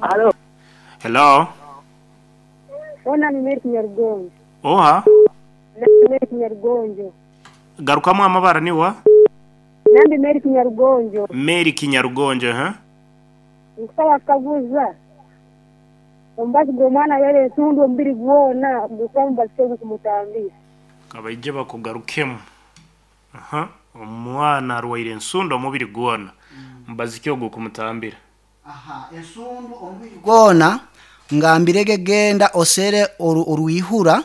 Halo. Hello. Ona ni Mary Kinyarugonjo. Oha? Nambi Mary Kinyarugonjo. Garukamu amabara ni wa? Nambi Mary Kinyarugonjo. Mary Kinyarugonjo, aha. Nkusaba kukaguza omubazi gw'omwana arwaire entundu omubiri gwona gukuba mubazi ki ogukumutambira? Kabaije bakugarukemu. Aha, omwana arwaire ensundu omubiri gwona, mubazi ki ogukumutambira? Aha, ensundu omubiri gwona ngambirege genda osere orwihura,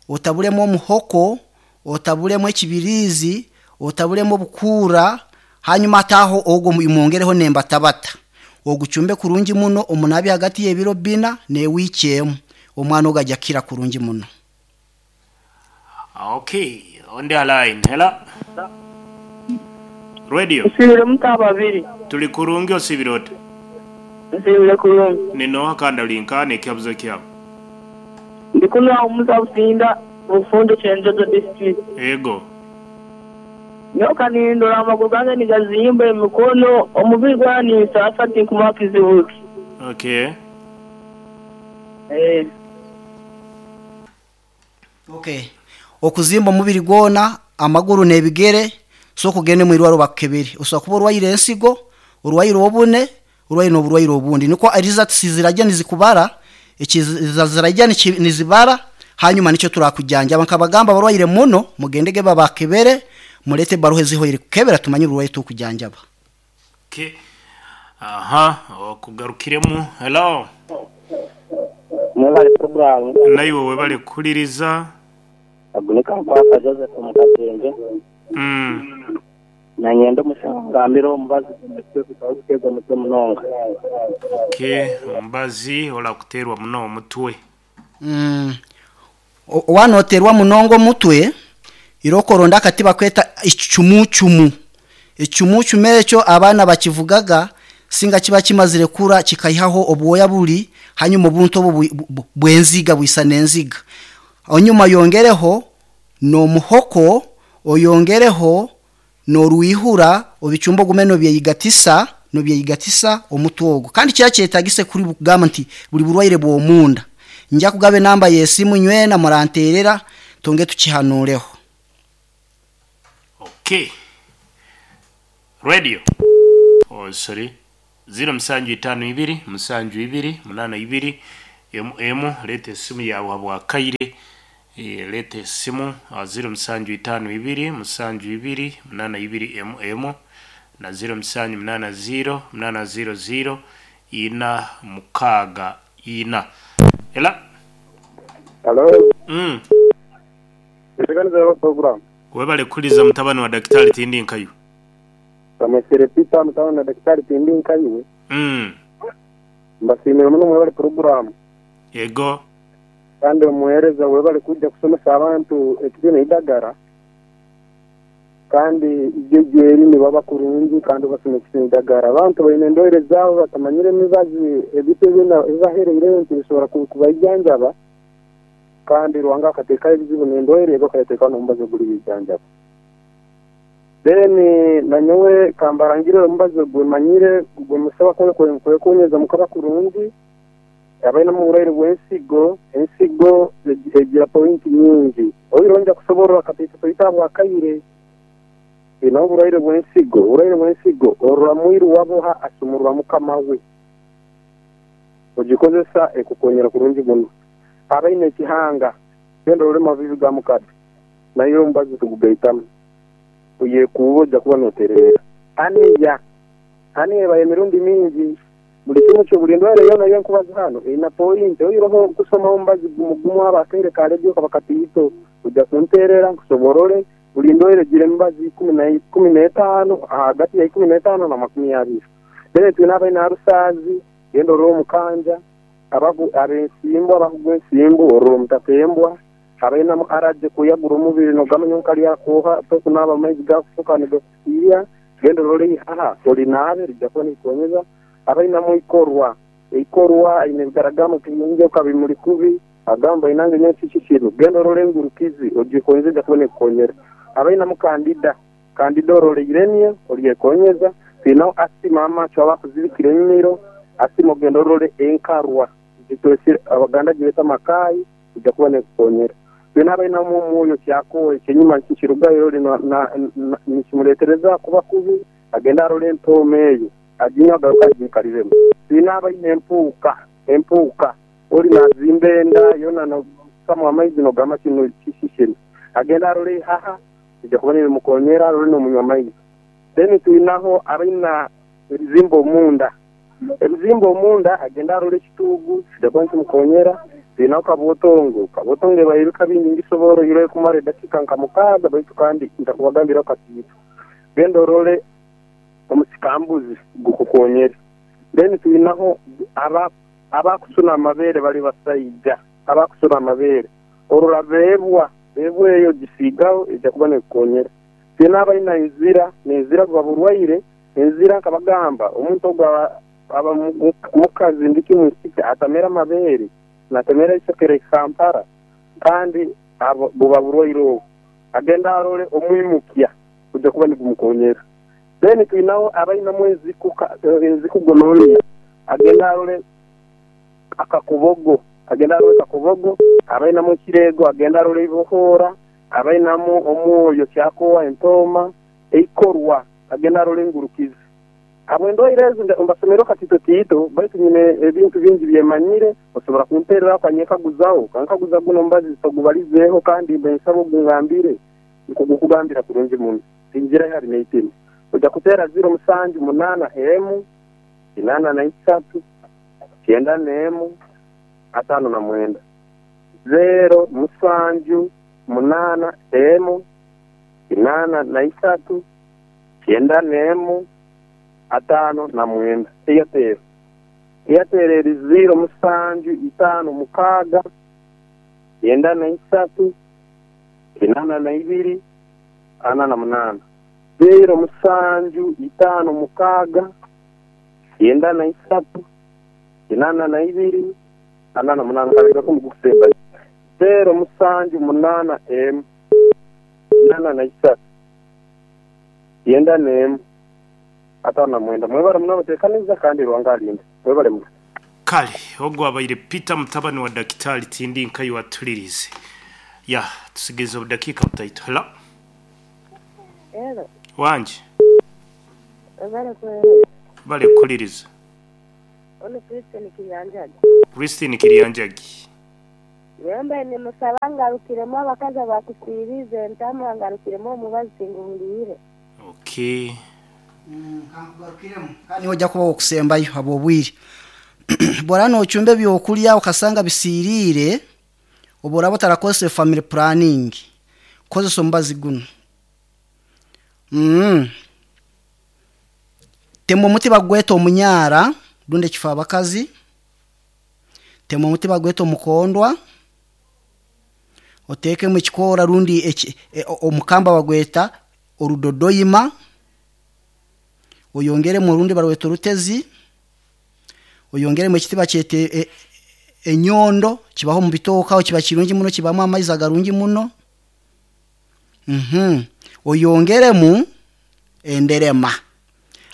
otabulemu omuhoko, otabulemu ekibiriizi, otabulemu obukuura, hanyuma ataaho ogwo mwongereho n'embatabata. Ogucumbe kurungi muno omunabi hagati y'ebiro bina n'ewiiki emu. Omwana ogu aja kukira kurungi muno. Okay, on the line. Hello. Radio. Nsiibire muta ababiri? Tuli kurungi osiibire ota? Nsiibire kurungi. Ni nooha kandi ori nkaha n'ekihabuzo kyawe? Ndi kunu agho Musa Businda, Bufunjo Kyenjojo District. Eego. Nyowe kanindora amaguru gange nigazimba, emikono, omubiri gwona ninsaasa tinkumanya kizibu ki. Okay. Eeh. Okay. Okuzimba omubiri gwona, amaguru n'ebigere, sooka ogende omu irwariro bakukebere. Osobola kuba orwaire ensigo, orwaire obune, orwaire n'oburwaire obundi. Nikwo results ziraija nizikubara, ziraija nizibara, hanyuma nikyo turakujanjaba. Nkabagamba abarwaire muno, mugendege babakebere, mureete ebaruha ezihoire kukebera tumanye oburwaire tukujanjaba. Okay. Aha, okugarukiremu. Hello. Mwebale puroguramu. Naiwe webale kuhuliriza. Ogu ni Kankwaka Joseph omu Katende. Nanye ndi omushaho ngambire omubazi gw'omutwe gukaba guteerwa omutwe munonga. Okay, omubazi orakuteerwa muno omutwe. Waaba nooteerwa munonga omutwe, irooko oronde akati bakweta ekicumucumu. Ekicumucumu ekyo abaana bakivugaga singa kiba kimazire kura kikaihaho obwoya buri hanyuma obuntu obwo bw'enziga bwisana enziga. Onyuma oyongereho n'omuhoko, oyongereho n'orwihura obicumbe ogume nobyeyigatisa nobyeyigatisa omutwe ogwo. Kandi kira kyetagise kuri kugamba nti buri burwaire bw'omunda. Nja kugaba enamba y'esimu nywena muranteerera twongere tukihanuureho. Okay. Radio. Oh, sorry. Ziro musanju itaanu ibiri, musanju ibiri, munaana ibiri, emu emu. Leeta esimu yaawe habw'akaire. Eh, leeta esimu ah, ziro musanju itaanu ibiri, musanju ibiri, munaana ibiri, emu emu na ziro musanju munaana ziro, munaana ziro ziro, ina mukaaga ina. Ela. Halo. Mm. Enteekaniza ya puroguramu. Webale kuhuliza mutabani wa Dakitali tindi nkaiwe. Bamwesire Peter mutabani wa Dakitali tindi nkaiwe. Mbasiimire muno mwebale puroguramu. Yego. Kandi omuheereza webale kwija kusomesa abantu ekitine eidagara. Kandi ijo eri nibaba kurungi kandi obasomesa ekitine eidagara. Abantu baine endwaire zaabo batamanyire emibazi ebintu ebibahereireyo nti bisobora kubaijanjaba. Kandi Ruhanga akateekaho ebizibu n'endwaire ego akayateekaho n'omubazi oguribijanjaba. Then nanyowe kambarangirire omubazi ogu manyire gwe musobola kwekuunyeza mukaba kurungi abainemu oburwaire bw'ensigo, ensigo egira pointi nyingi. Oihireho nja kusoborora kataito taito ahabw'akaire. Twine oburwaire bw'ensigo, oburwaire bw'ensigo orora mwiru waboha asumurura mukama we. Ogikozesa ekukonyera kurungi muno. Abaine ekihanga, genda orole mavivi ga mukade, nayo omubazi tugugaitamu. Oyekuube oja kuba notereera. Aniya, aniya ebayo emirundi mingi. Buli kimu kyo, buli ndwaire yoona eyenkubaza hanu eine pointi. Oihireho kusoma omubazi gumu gumu aba akaire ka rediyo kaba kataito, oja kunteerera nkusoborore buli ndwaire egira emibazi ikumi n'etaano, ahagati ya ikumi n'etaano na makumi abiri. Then twine abaine arusaazi, genda orole omukanja. Ab'ensimbu, abakugwa ensimbu, orora omutatembwa, abainamu araje kuyagura omubiri nogamanya nka lyakwoha, tokunaaba amaizi gakufuka nigakusiiya, genda orole eihaha olinaabe rija kuba nirikukonyeza. Abainamu eikorwa, eikorwa aine ebigaragamba nka bimuri kubi, agamba inange nyowe kiki kinu, genda orole engurukizi ogikonyeze eja kuba nekukonyera. Abainamu kandida, kandida orora eiremye oryekonyeza. Twinaho asima amacho abakuzibikira emimiro. Asima ogende orole enkarwa zitwesire Abaganda gibeta amakaayi ija kuba nekukonyera. Twine abainamu omwoyo kyakowe ekyenyima nikirugayo ori nikimuretereza kuba kubi agende arole entooma eyo aginywe agaruke agiikariremu. Twine abaine empuuka empuuka ori nazimba enda yoona nosamu amaizi nogamba kinu kisishire agende arole eihaha rija kuba nirimukonyera arole nomunywa amaizi. Then twinaho abaina ebizimba omunda ebizimba omunda agende arole ekituugu kija kuba nikimukonyera. Twinaho kabwotongo kabwotongo ebaire ebika bingi ngisoboora oihireho ekumara edakiika nka mukaaga baitu kandi ntakubagambiraho katiito. Genda orole omusikambuzi gukukonyere. Then twinaho aba abakusuna amabeere bali basaija abakusuna amabeere orora beebwa beebwa eyo ogisiigaho eija kuba nekukonyera. Twine abaina enzira nenzira buba burwaire enzira nkabagamba omuntu ogu aba aba mukazi ndiki mwisiki atamera amabeere natemera eisoke rikampara kandi abo buba burwaire obu agende arole omwimukya gujja kuba nigumukonyera. Then twinaho abainamu enziku enziku gonorrhea agende arole akakobogo agende arole kakobogo, abainamu ekireego agende arole eibohoora, abainamu omwoyo kyakowa entooma eikorwa agende arole engurukizi. Habw'endwaire ezi mbasomeireho katito tiito baitu nyine ebintu bingi byemanyire osobora kumpereraho okanyekaguzaho okankaguza guno omubazi togubalizeeho kandi mbe nsaba ogungambire nkugukugambira kurungi muno. Tingira ihari n'eitima. Oija kuteera ziro musanju munaana emu, kinaana na isatu, kyenda n'emu, ataano na mwenda. Zeero musanju munaana emu, kinaana na isatu, kyenda n'emu, ataano na mwenda. Airtel. Airtel eri ziiro musanju itaano mukaaga, kyenda na isatu, kinaana na ibiri, ana na munaana. Zeero musanju itaano mukaaga, kyenda na isatu, kinaana na ibiri, ana na munaana. Nkareebeka omu gukusembayo. Zeero musanju munaana emu, kinaana na isatu, kyenda n'emu, ataano na mwenda. Mwebale muno abateekaniza kandi Ruhanga alinde. Mwebale muno. Kale ogwo abaire Peter mutabani wa Dakitari tindi nkayi watulirize. Ya tusigaize obudakiika butaito. Hello. Hello, Wangi webale kuweereza. bale kukuliriza. Onu Christine Kiryanjagi. Christine Kiryanjagi. Yembe nimusaba ngarukiremu abakazi abakusiirize entamu angarukiremu omubazi tinguhuliire. Okay. Kankugarukiremu kandi niwe ojja kuba wokusembayo habw'obwire. Bw'oraba noocumba ebyokurya okasanga bisiiriire, obu oraba otarakozesa family planning, kozesa omubazi gunu. Tema omuti bagweta omunyaara rundi ekifaabakazi, tema omuti bagweta omukondwa, oteekemu ekikoora rundi omukamba bagweta orudodoima, oyongeremu orundi barweta orutezi, oyongeremu ekiti bakyeta enyondo kibaho omu bitooke aho kiba kirungi muno kibamu amaizi agarungi muno. Oyongeremu enderema.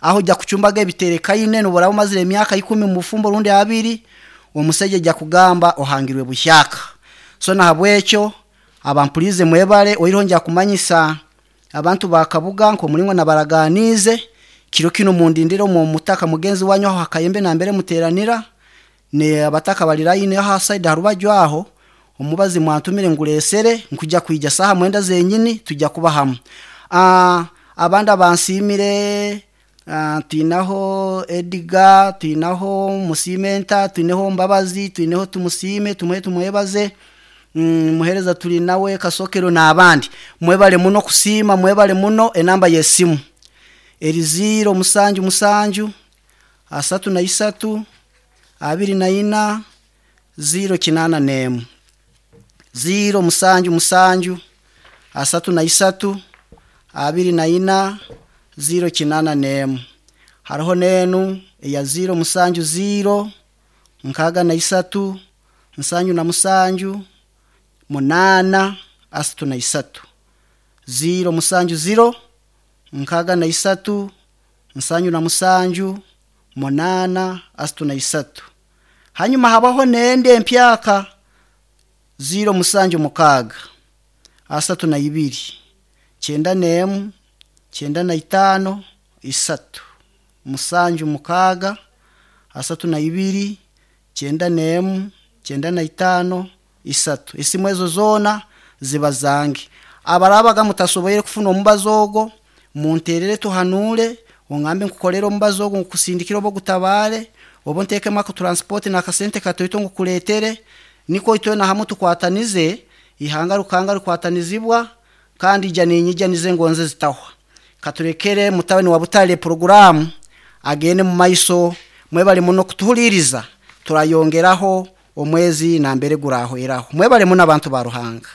Aho ojja kucumbaga ebiterekaine nobu oraba omazire emyaka ikumi omu bufumbo rundi abiri, omusaija aija kugamba ohangirwe buhyaka. So nahabwekyo abampuriize mwebale oihireho nja kumanyisa abantu ba Kabuga nk'omuringo nabaraganiize, kiro kinu mundindire omu mutaka mugenzi wanyu aho hakayembe nambere muteeranira, ne abataka bari line aho ha side aha rubaju aho, omubazi mwantumire ngureesere nkuja kwija saaha mwenda zenyini tujja kuba hamwe. Abandi abansiimire twinaho Edgar, twinaho Musimenta, twineho Mbabazi, twineho Tumusiime, tumuhe tumwebaze, Muhereza turi nawe, Kasokero n'abandi. Mwebale muno kusiima, mwebale muno enamba y'esimu. Eri ziiro musanju musanju, asatu na isatu, abiri na ina, ziiro kinaana n'emu. Ziiro musanju musanju, asatu na isatu, abiri na ina, ziiro kinaana n'emu. Hariho n'enu eya ziiro musanju ziiro, nkaaga na isatu, nsanju na musanju, munaana, asatu na isatu. Ziiro musanju ziro, nkaaga na isatu, nsanju na musanju, 8 33. Hanyuma habaho n'endi empyaka 076 32 91 95 3 76 32 91 95 3. Esimu ezo zoona ziba zange. Abarabaga mutasoboire kufuna omubazi ogwo, munterere tuhanure, ongambe nkukorere omubazi ogwo, nkusindikire oba ogutabare, oba ntekemu ako transport n'akasente katoito nkukuretere, niko itwena hamwe tukwatanize, ihanga rukanga rukwatanizibwa, kandi ija ninyija nize ngonze zitahwa. Katurekere mutabani wa Butare programu agende mu maiso, mwebale muno kutuhuliriza, turayongeraho omwezi nambere gurahweraho. Mwebale muno abantu ba Ruhanga.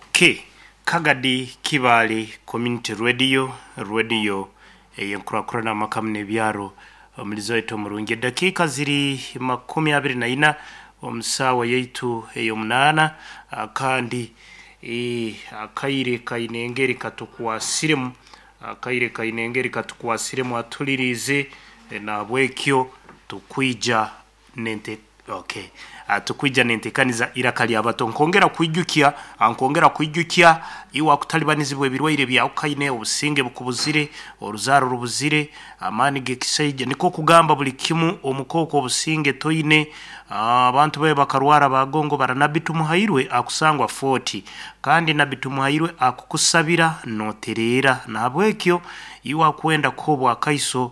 Okay. Kagadi Kibale Community Radio, radio eyenkurakurana amakamu n'ebyaro omulizo waitu omurungi. Edakiika ziri 24 omu saawa yaitu ey'omunaana, kandi akaire kaine engeri katukwasiremu, akaire kaine engeri katukwasiremu atuliriize, nahabwekyo tukwija nente okay. Tukwija nentekaniza iraka lyabato. Nkongera kwijukya, nkongera kwijukya iwe akutalibanizibwa ebirwaire byawukaine, obusinge bukubuzire, oruzaaro rubuzire, amaani g'ekisaija, niko kugamba buli kimu omukooko obusinge toine. Abantu babe bakarwara bagongo bara. Nabbi Tumuhairwe akusangwa 40, kandi Nabbi Tumuhairwe akukusabira notereera. Nahabwekyo iwe akwenda kuhobwa akaiso,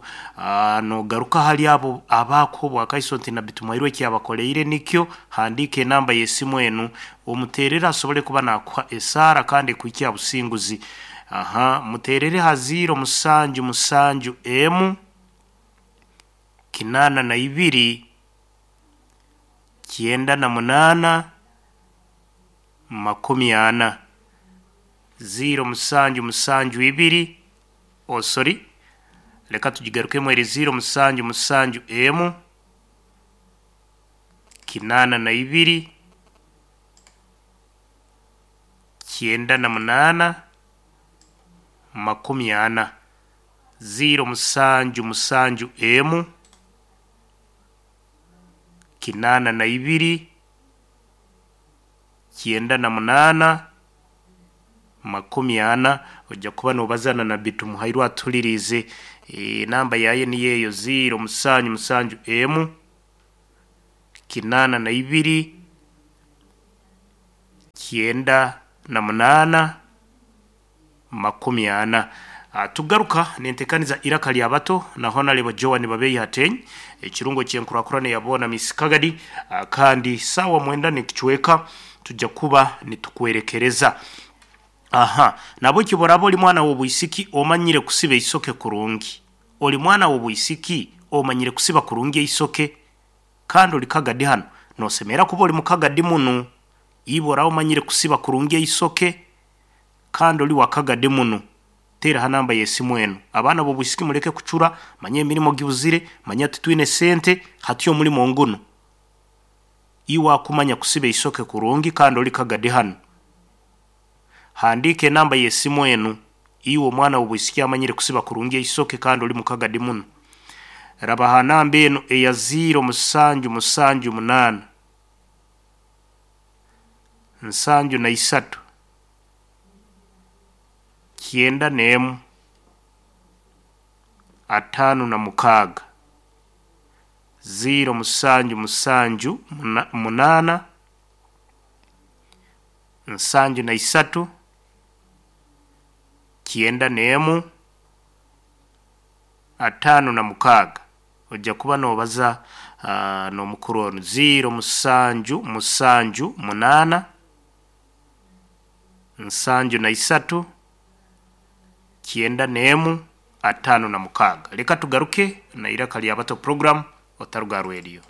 nogaruka hali abo abakuhobwa akaiso nti Nabbi Tumuhairwe ekyabakoleire nikyo. Handiika enamba y'esimu enu omuterere asobole kuba nakuha esaara kandi ekuhikya businguzi. Aha, muterere ha 077 emu 82 98 40 0772. Oh sorry, leka tugigarukemu eri 077 emu 82 98 40 077 emu 82 98 40. Ojja kuba nobazana na Nabbi Tumuhairwe atulirize. Namba yaye niyo eyo 077 emu 82 98 40. Tugaruka nentekaniza iraka lyabato na Honorable Joan Babeyi Hateny, ekirungo kyenkurakurana yabona Miss Kagadi, kandi sawa mwenda nekichweka tujja kuba nitukwerekereza. Aha, nabo kiborabo oli mwana w'obwisiki omanyire kusiba isoke kurungi, oli mwana w'obwisiki omanyire kusiba kurungi eisoke, kandi oli Kagadi hano nosemera kuba oli mukagadi munu. Ibora omanyire kusiba kurungi eisoke kandi oli wakagadi munu, tera ha namba y'esimu eno. Abaana b'obwisiki muleke kucura, manye emirimo gibuzire, manye titwine sente, hati omulimo nguno. Iwe akumanya kusiba eisoke kurungi kandi oli Kagadi hano, handiika enamba y'esimu enu. Iwe omwana w'obwisiki amanyire kusiba kurungi eisoke kandi oli mukagadi muno, raba ha namba eno eya 0778 73 91 56 0778 73 91 56. Ojja kuba nobaza n'omukuru ono 0778 73 91 56. Leka tugaruke na iraka lyabato program otaruga radio.